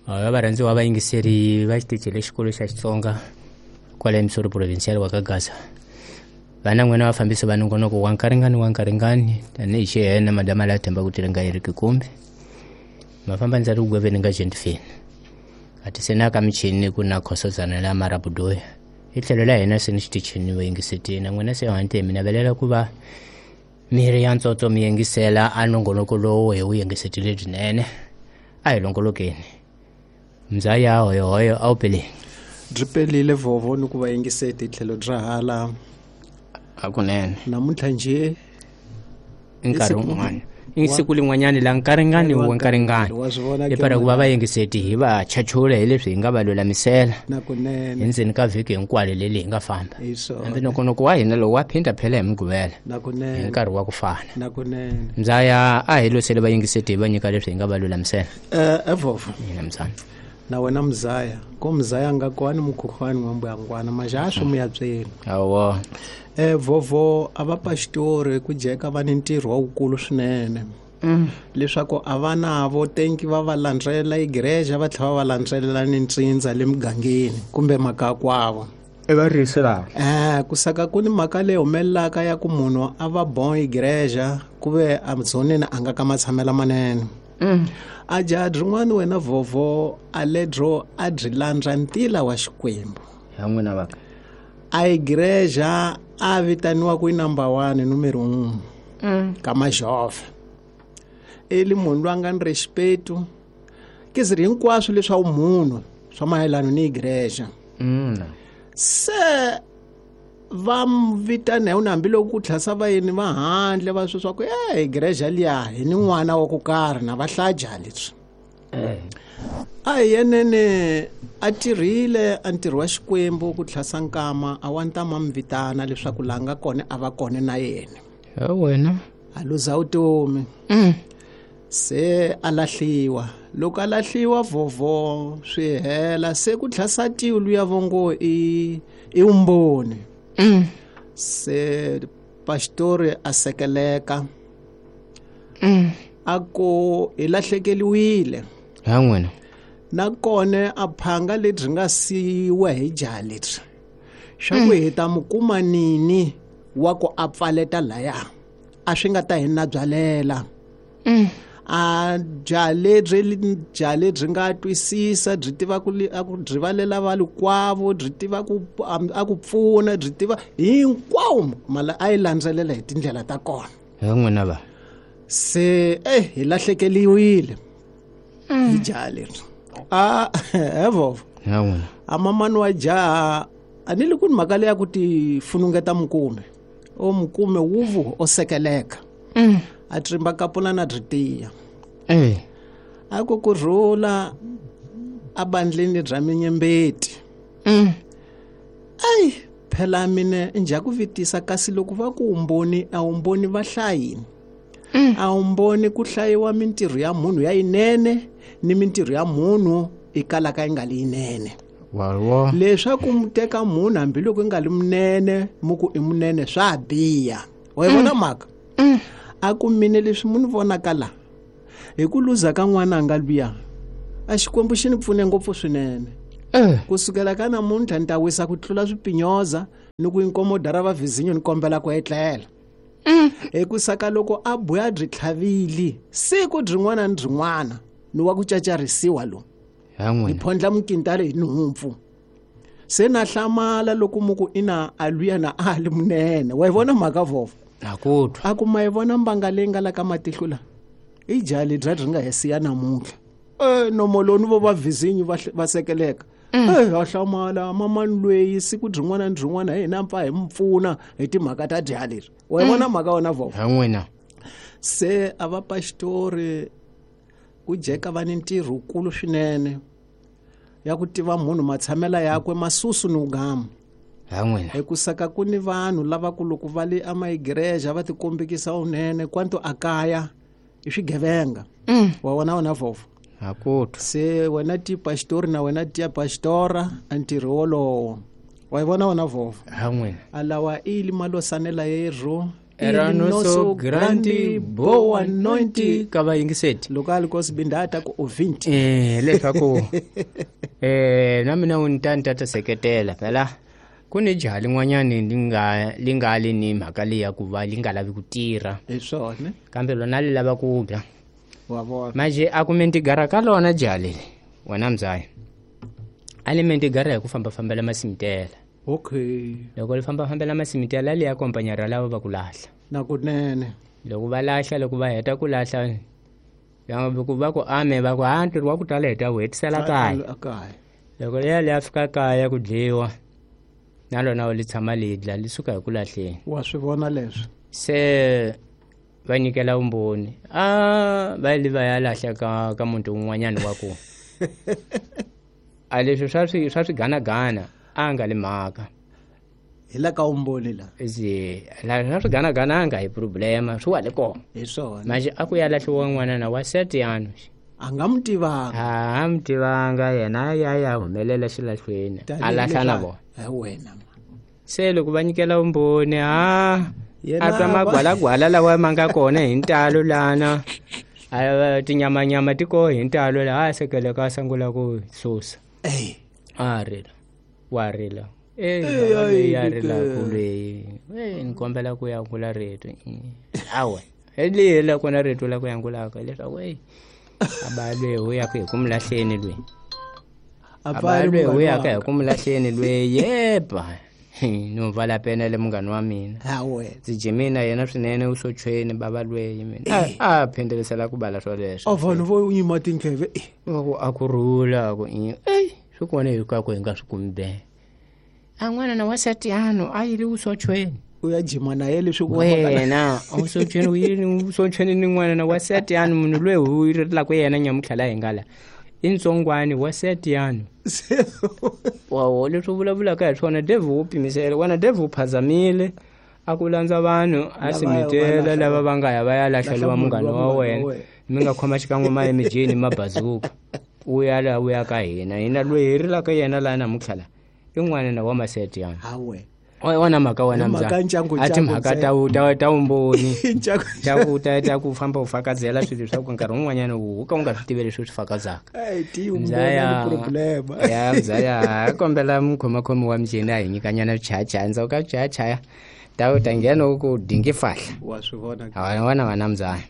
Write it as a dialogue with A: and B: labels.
A: Varhandziwa vayingiseri va xitichi lexikulu xa Xitsonga kwale Missouri Provincial wa ka Gaza. Vana n'wina vafambisi va nongonoko wa nkaringani wa nkaringani tanihi xihena madama la themba ku tiringa yi ri kikumbi. Mafamba ndza ri gweveni nga gentifini. Ati se na ka michini ku na khosozana la marabudoya. Hi tlhelo la hina se ni xitichini vayingisetini. N'wina se hante mi navelela ku va miri ya ntsotso mi yingisela a nongonoko lowu hi wu yingisetile byinene. A hi longolokeni. Mzaya hoyohoyo a wu peleni.
B: Byi pelile vovo ni ku va yingiseti tlhelo bya hala.
A: Hakunene.
B: Namuntlha nje
A: i nkarhi wun'wana. I siku lin'wanyani la nkaringani wa nkaringani.
B: Wa swi vona.
A: Lepara ku va vayingiseti hi va chachula hi leswi hi nga va lulamisela.
B: Nakunene.
A: Endzeni ka vhiki hinkwalo leli hi nga famba.
B: Hi swona.
A: Hambi nongonoko wa hina lowu wa phinda phela hi Mugqivela. Hi
B: Nakunene.
A: nkarhi wa ku fana.
B: Nakunene.
A: Mzaya a hi losele vayingiseti hi va nyika leswi hi nga va lulamisela.
B: Evovo.
A: Mina mzana.
B: Na wena mzaya, ko mzaya nga kwani mukhukhwani wa mbuyangwana majaha mu ya byeni.
A: Awo.
B: Vovo a va pastori ku jeka va ni ntirho wa wukulu swinene. Leswaku a va navo tenki va va landzela igreja va tlhela va va landzelela ni ntsindza le mugangeni kumbe makakwavo.
A: I varisi lava.
B: Kusaka ku ni mhaka leyi humelelaka ya ku munhu a va bon igreja ku ve a dzoneni a nga ka matshamela manene. A jaha rin'wana wena vovo a ledro a byi landza ntila wa Xikwembu.
A: Ya n'wina vaka.
B: A igreja a vitaniwa ku i number 1 numero 1. Ka majove. Eli munhu loyi a nga ni respect ke ziri hinkwaswo leswa munhu swa mayelana ni igreja. Se va vitana hi hambiloko ku tlhasa vayeni va handle va swi swa ku igreja liya hi ni n'wana wa ku karhi na va hlaja leswi. A hi yenene a tirhile a ntirho wa Xikwembu ku tlhasa nkama a wa ntama mi vitana leswaku laha nga kona a va kona na yena.
A: Ya wena.
B: A luza vutomi. Se a lahliwa. Loko a lahliwa vovo swi hela se ku tlhasa tiwu luya vongo i umboni. Se pastori a sekeleka. A ku hi lahlekeliwile.
A: Ya n'wina.
B: Nakona a phanga lebyi nga siyiwa hi jaha lebyi. Swa ku hi ta mu kuma nini wa ku a pfaleta laya. A swi nga ta hi na byalela. A jaha lebyi, jaha lebyi nga twisisa, byi tiva ku li, a ku byi valela valikwavo, byi tiva ku, a ku pfuna, byi tiva hinkwawo mala a yi landzelela hi tindlela ta kona.
A: Ya n'wina va.
B: Se hi lahlekeliwile. Hi jaha leri. A, evovo.
A: Ya n'wina.
B: A mamani wa jaha, a ni li ku ni mhaka leyi ya ku ti funungeta mukume. O mukume wuvu o sekeleka. A trimba kapula na byi tiya. A ku kurhula a bandleni bya minyembeti. Ai, phela mina njha ku vitisa kasi loko va ku umboni a umboni va hlayini. A umboni ku hlayiwa mintirho ya munhu ya yinene ni mintirho ya munhu i kalaka yi nga li yinene.
A: Wa.
B: Leswaku mu teka munhu hambiloko yi nga li munene mu ku i munene swa biha. Wa yi vona mhaka? A ku mine leswi mu ni vonaka la hi ku luza ka n'wana nga luya a Xikwembu xi ni pfune ngopfu swinene. Kusukela ka namuntlha ni ta wisa ku tlula swipinyoza ni ku inkomo ra va vizinyo ni kombela ku etlela. Hi ku saka loko a buya byi tlhavili siku byin'wana ni byin'wana ni wa ku cacarisiwa lo.
A: Ya n'wina.
B: Ni phondla mukintale hi nhompfu. Se na hlamala loko mu ku ina a luya na a li munene. Wa yi vona mhaka vovo?
A: Na ku twa.
B: A ku ma yi vona mbanga leyi nga la ka matihlo la? I jaha ledyiya byi nga he siya namuntlha. Nomoloni vo va vizinyo va sekeleka. Ha hlamala mamani loyi siku byin'wana ni byin'wana hi hina pfa hi mu pfuna hi timhaka ta jaha leri. Wa yi vona mhaka wena vovo?
A: Ya n'wina.
B: Se a va pastori ku jeka va ni ntirho wukulu swinene ya ku tiva munhu matshamela yakwe masusu ni ugama.
A: Ya n'wina.
B: Hi ku saka ku ni vanhu lava ku loko va le amaigreja va tikombekisa unene kwanto a kaya i swigevenga. Wa vona wena vovo?
A: A ku twa.
B: Se wena ti pastori na wena ti pastora a ntirho wolowo. Wa yi vona wena vovo?
A: Ya n'wina.
B: A lawa i li malosanela yerhu.
A: Era nosso grande boa noite ka vayingiseti
B: loko a li kosibindata ku ovinti
A: leswaku na mina u ni ta ni ta ta seketela phela ku ni jaha lin'wanyani li nga li ni mhaka leyi ya ku va li nga lavi ku tirha
B: hi swona
A: kambe lona li lava ku dya
B: wa vona
A: manje a kume ntigara ka lona jaha leli wena mzaya a li mentigara hi ku fambafambela masimitela
B: okay
A: loko li fambafambela masimitela li ya kompanyara lava va ku lahla
B: na kunene
A: loko va lahla loko va heta ku lahla ku va ku ame va ku ha ntirho wa ku tala hi ta wu hetisela kaya
B: kaya
A: loko liya li ya fika kaya ku dliwa na lona li tshama li dla li suka hi ku lahleni
B: wa swi vona leswi
A: se va nyikela vumbhoni a va li va ya lahla ka muti wun'wanyana wa ku a leswi swa swiganagana a nga li mhaka
B: hi la ka vumbhoni la
A: la swa swiganagana a nga hi problema swi wa le kona
B: hi swona
A: manje a ku ya lahliwa n'wanana wa setiano
B: a nga mu tivanga
A: a mu tivanga yena ya ya humelela xilahlweni a lahla na vona
B: hi wena
A: se loko va nyikela vumbhoni a twa magwalagwala lawa ma nga kona hi ntalo lana tinyamanyama ti koho hi ntalo laha a sekeleka a sungula ku susa a rila wa rila ya rilaku leyi ni kombela ku yangula rito awe leyi la kona rito la ku yangulaka leswaku eyi aba lweyi u yaka hi ku mu lahleni lweyi aba lweyi u yaka hi ku mu lahleni lweyi yeba no vala penele munghani wa mina ndzi jimina yena swinene u sochweni bava lweyi mina a phindelisela ku bala swoleswo
B: a vanhu vo yima tindleve
A: ku a ku rhula ku eyi swi kona hinkwako hi nga swi kumi be a n'wana na wasatiano a yile usochweni
B: u ya jima na ye leswi
A: wena usochweni u yini usochweni ni n'wana na wasatiano munhu loyi u rilaka yena nyamutlha hi nga la i ntsongwani wasatiano wawo leswi u vulavulaka hi swona devil wo pimisela wena devil u phazamile a ku landza vanhu a simitela lava va nga ya va ya lahleliwa munghana wa wena mi nga khoma xikan'we ma emijini mabazuka u ya laha u ya ka hina hina loyi hi rilaka yena laha namuntlha la i n'wana na wa masetiana wona mhaka wena a timhaka ta vumbhoni ta ku famba u fakazela swilo swa ku nkarhi wun'wanyana u ka u nga swi tivi leswi u swi fakazaka mzaya a kombela mukhomakhomi wa mjeni a hi nyikanyana swichayachaya ndzhaku ka swichayachaya ta nghena u ku dingi fahla
B: wa swi vona
A: wona wena mzaya.